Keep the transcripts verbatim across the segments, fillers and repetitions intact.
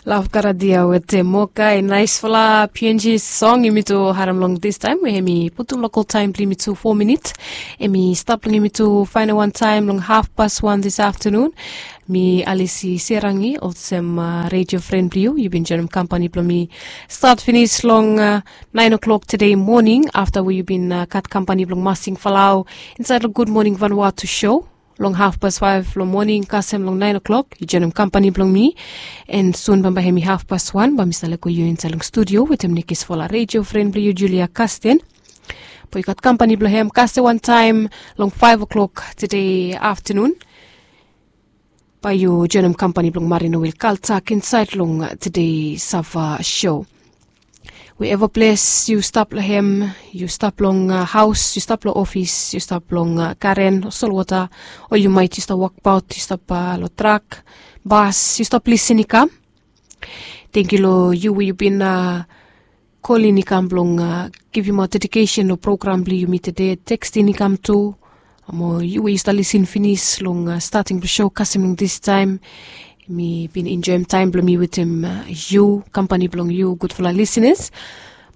Love Karadia wetem Mokai, naisfala P N G song yumi tu harim long distaem we hemi putum lokal taem blong yumi tu fo minit. Hemi stap long yumi tu faenem wan taem long haf pas wan dis aftanun. Mi Alisi Serangi olsem redio fren blong yu, yu bin joinim kampani blong mi stat finis long naen o'klok tede moning afta we yu bin gat kampani blong Masing Falau insaed long Gud Moning Vanuatu show. Long haf pas faef long moning kasem long naen o'klok yu joinim kampani blong mi. En sun bambae hemi haf pas wan bae mi save lego yu insaed long studio wetem nekisfala redio fren blong yu Julia Kasten. Bae yu gat kampani blong hem kasem wantaem long faef o'klok tede aftanun. Bae yu joinim kampani blong Marino Wil Kaltak insaed long tede sava show. We eva ples yu stap long hem, yu stap long haos, yu stap long ofis, yu stap long garen o solwota, o yu maet yu stap wokbaot, yu stap long trak, bas, yu stap lisin i kam. Tangkiu long yu we yu bin kolin i kam blong givimaot dedikesen long program blong yumi tede, tekstin i kam tu. Mo yu we yu stap lisin finis long stating blong show kasem long distaem. Mi bin enjoem taem blong mi wetem yu, kampani blong yu gudfala lisinas.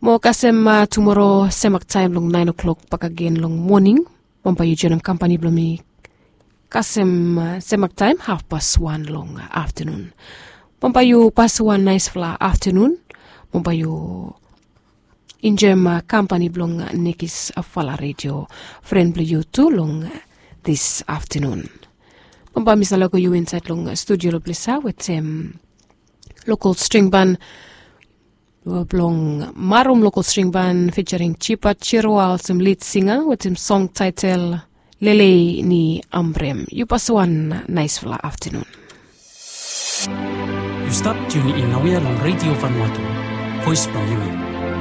Mo kasem tumora semak taem long naen o'klok bakagen long moning, bambae yu joinim kampani blong mi kasem semak taem haf pas wan long aftanun. Bambae yu pasem wan naesfala aftanun. Bambae yu enjoem kampani blong nekisfala redio fren blong yu tu long dis aftanun. Bambae mi save lego yu insaed long studio long ples ya wetem lokal string ban blong Marum Lokal String Ban featuring Chipa Chirwa olsem lid singa wetem song taetel Lelei ni Amrem. Yu pasem wan naesfala aftanun. Yu stap tiuni in naoia long redio Vanuatu, voes blong yumi.